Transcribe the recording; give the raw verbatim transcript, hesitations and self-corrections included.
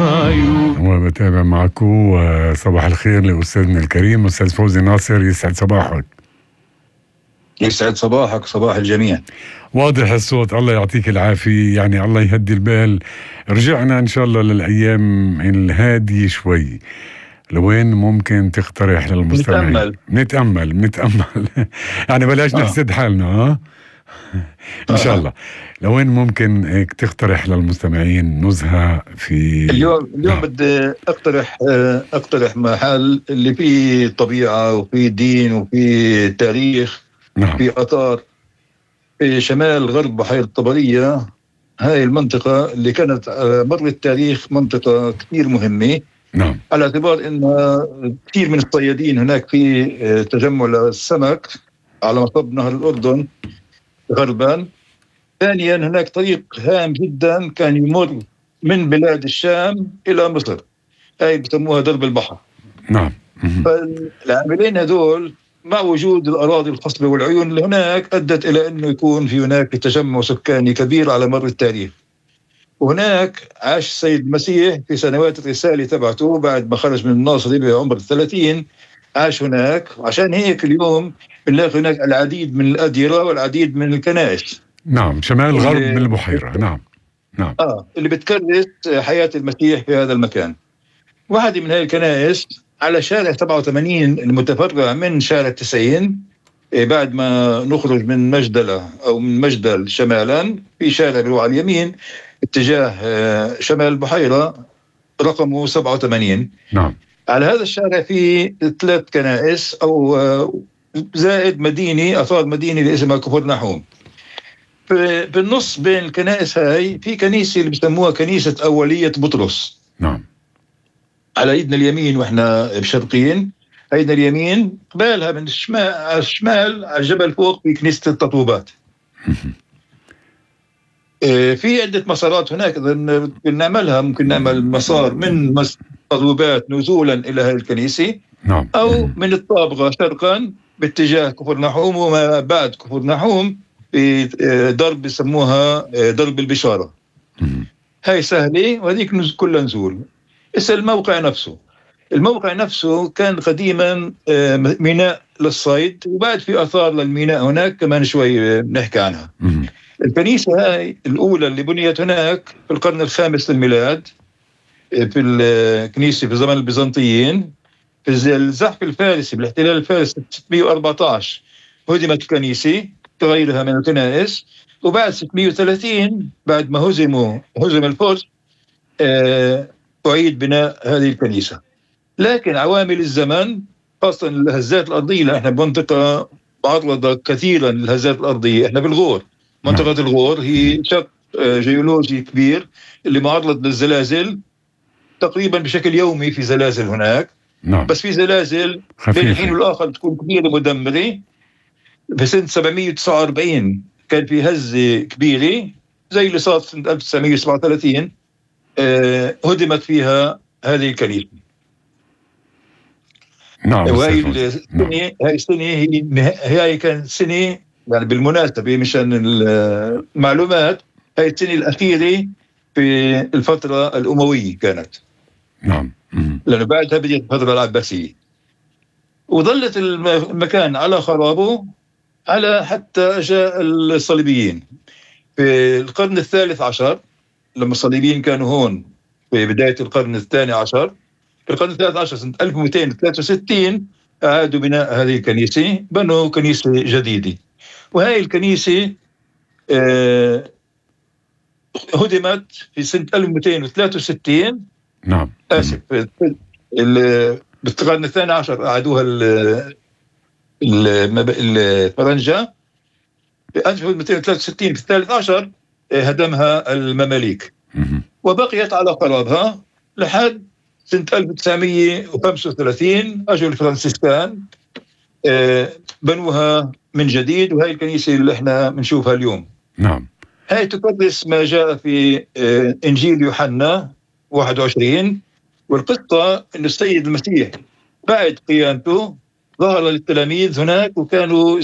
الخيول. وبتابع معكم. صباح الخير لأستاذنا الكريم أستاذ فوزي ناصر، يسعد صباحك. يسعد صباحك، صباح الجميع. واضح الصوت، الله يعطيك العافية، يعني الله يهدي البال. رجعنا إن شاء الله للأيام الهادية شوي، لوين ممكن تقترح للمستمعين؟ نتأمل نتأمل نتأمل يعني بلاش آه. نحسد حالنا. ها إن شاء الله. لوين ممكن هيك تقترح للمستمعين نزهة في اليوم اليوم آه. بدي اقترح اقترح محل اللي فيه طبيعة وفيه دين وفيه تاريخ، نعم. في آثار، في شمال غرب بحيرة طبرية. هاي المنطقة اللي كانت مر التاريخ منطقة كثير مهمة، نعم. على اعتبار ان كثير من الصيادين هناك في تجمع للسمك على مصب نهر الأردن غربا. ثانيا هناك طريق هام جدا كان يمر من بلاد الشام إلى مصر، هاي بسموها درب البحر. نعم. فالعاملين هذول مع وجود الأراضي الخصبة والعيون اللي هناك أدت إلى أنه يكون في هناك تجمع سكاني كبير على مر التاريخ. وهناك عاش السيد المسيح في سنوات الرسالة تبعته بعد ما خرج من الناصرة بعمر الثلاثين، عاش هناك. وعشان هيك اليوم بنلاقي هناك العديد من الأديرة والعديد من الكنائس. نعم، شمال غرب من البحيرة. نعم نعم. آه اللي بتكرس حياة المسيح في هذا المكان. واحدة من هذه الكنائس على شارع سبعة وثمانين المتفرع من شارع تسعين، بعد ما نخرج من مجدلة أو من مجدل شمالا، في شارع بيروح على اليمين اتجاه شمال البحيرة رقمه سبعة وثمانين. نعم. على هذا الشارع في ثلاث كنائس أو زائد مدينة أثار مدينة اللي اسمها كفر نحوم. بالنص بين الكنائس هاي في كنيسة اللي بيسموها كنيسة أولية بطرس. نعم. على ايدنا اليمين واحنا بشرقين، ايدنا اليمين قبالها من الشمال على الشمال على الجبل فوق في كنيسة التطوبات. في عدة مسارات هناك إذا نعملها، ممكن نعمل مسار من التطوبات نزولا إلى هذه الكنيسة، نعم. أو من الطابغة شرقا باتجاه كفر نحوم، وما بعد كفر نحوم في درب بيسموها درب البشارة. هاي سهلة وهذيك كلها نزول. اسم الموقع نفسه، الموقع نفسه كان قديما ميناء للصيد، وبعد في آثار للميناء هناك كمان شوي بنحكي عنها. الكنيسة هاي الأولى اللي بنيت هناك في القرن الخامس للميلاد، في الكنيسة في زمن البيزنطيين. في الزحف الفارسي بالاحتلال الفارسي ستمائة وأربعة عشر هدمت الكنيسة كغيرها من الكنائس، وبعد ستمائة وثلاثين بعد ما هزموا هزم الفرس آه أعيد بناء هذه الكنيسة. لكن عوامل الزمن خاصة الهزات الأرضية، نحن بمنطقة معرضة كثيرا للهزات الأرضية. احنا بالغور، منطقة الغور هي شق جيولوجي كبير اللي معرض للزلازل تقريبا بشكل يومي. في زلازل هناك، نعم. بس في زلازل بين الحين والآخر تكون كبيرة مدمرة. في سنة سبعمائة وتسعة وأربعين كان في هزة كبيرة زي اللي صارت سنة ألف وتسعمائة وسبعة وثلاثين، آه هدمت فيها هذه الكنيسة. نعم. وهي السنة هاي السنة هي هي كانت سنة، يعني بالمناسبة مشان المعلومات، هاي السنة الأخيرة في الفترة الأموية كانت. نعم. لأنه بعدها بدأت الفترة العباسية، وظلت المكان على خرابه على حتى جاء الصليبيين في القرن الثالث عشر. لما الصليبيين كانوا هون في بداية القرن الثاني عشر، في القرن الثالث عشر سنة ألف ومئتين وثلاثة وستين أعادوا بناء هذه الكنيسة، بنوا كنيسة جديدة. وهذه الكنيسة آه هدمت في سنة ألف ومئتين وثلاثة وستين. نعم. آسف، بالقرن الثاني عشر أعادوها الفرنجة. في ألف ومئتين وثلاثة وستين في الثالث عشر هدمها المماليك، وبقيت على قرارها لحد سنة ألف وتسعمائة وخمسة وثلاثين أجوا الفرنسيسكان بنوها من جديد. وهي الكنيسة اللي احنا بنشوفها اليوم. نعم. هاي تقدس ما جاء في إنجيل يوحنا واحد وعشرين. والقصة إن السيد المسيح بعد قيامته ظهر للتلاميذ هناك، وكانوا